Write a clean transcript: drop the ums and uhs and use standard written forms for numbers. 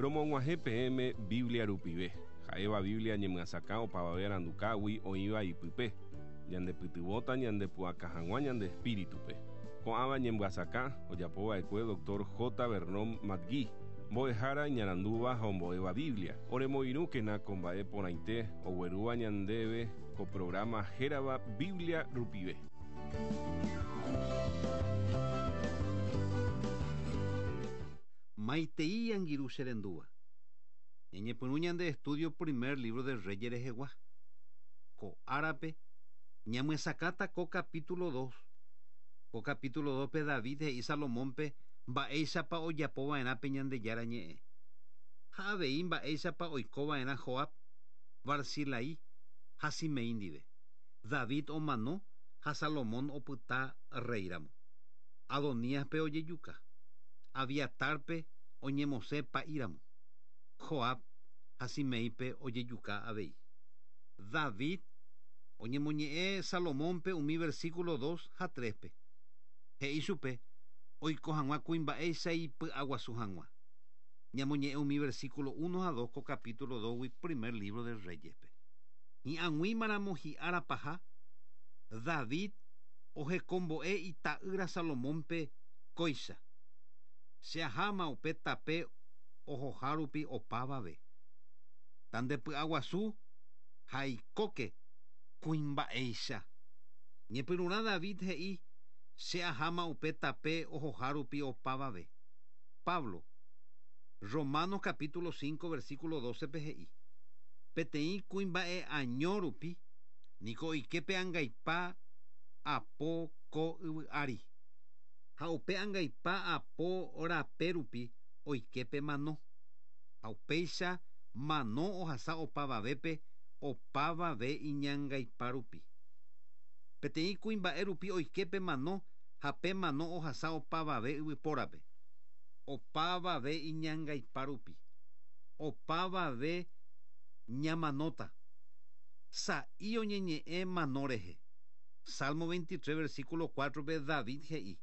Romog̃uahẽ peẽme Biblia rupive, ha'éva Biblia ñemyasakã opavave arandukágui oĩva ipype, ñandepytyvõta ñandepu'aka hag̃ua ñande espíritupe. Ko'ãva ñemyasakã ojapova'ekue Dr. J. Vernon McGee, mbo'ehára iñarandúva ha ombo'éva Biblia. Oremoirũkena ko mba'e porãite oguerúva ñandéve ko programa hérava Biblia rupive. Maitei angirũ che rendúva. Ñañepyrũ ñande estudio primer libro de Reyes rehegua. Ko árape ñamyesakãta ko capítulo 2. Ko capítulo 2-pe David he'i Salomónpe mba'éichapa ojapova'erã pe Ñandejára ñe'ẽ. Ha avei mba'éichapa oikova'erã Joab, Barzilai ha Simei ndive. David omano ha Salomón opyta rréiramo. Adoníaspe ojejuka. Abiatarpe oñemosẽ pa'íramo. Joab ha Simeípe ojejuka avei. David oñemoñe'ẽ Salomónpe umi versículo 2 ha 3-pe. He'i chupe oiko hag̃ua kuimba'éicha ipy'aguasu hag̃ua. Ñamoñe'ẽ umi versículo 1 ha 2 ko capítulo 2-gui primer libro de Reyespe. Hi'ag̃uímaramo hi'ára paha, David ohekombo'e ita'ýra Salomónpe kóicha. Che aháma upe tape ohoha rupi opavave. Tandepy'aguasu ha eikóke kuimba'éicha. Ñepyrũrã David he'i che aháma upe tape ohoha rupi opavave. Pablo, Romanos capítulo 5 versículo 12-pe he'i. Peteĩ kuimba'e año rupi niko oike angaipa apo ko yvy ári. Ha upe angaipa apo rape rupi oike mano. Ha upéicha mano ohasa opavavépe opavave iñangaipa rupi. Peteĩ kuimba'e rupi oike mano ha pe mano ohasa opavave yvypórape. Opavave iñangaipa rupi. Opavave ñamanóta. Sa'i oñeñe'ẽ mano rehe. Salmo 23 versículo 4-pe David he'i.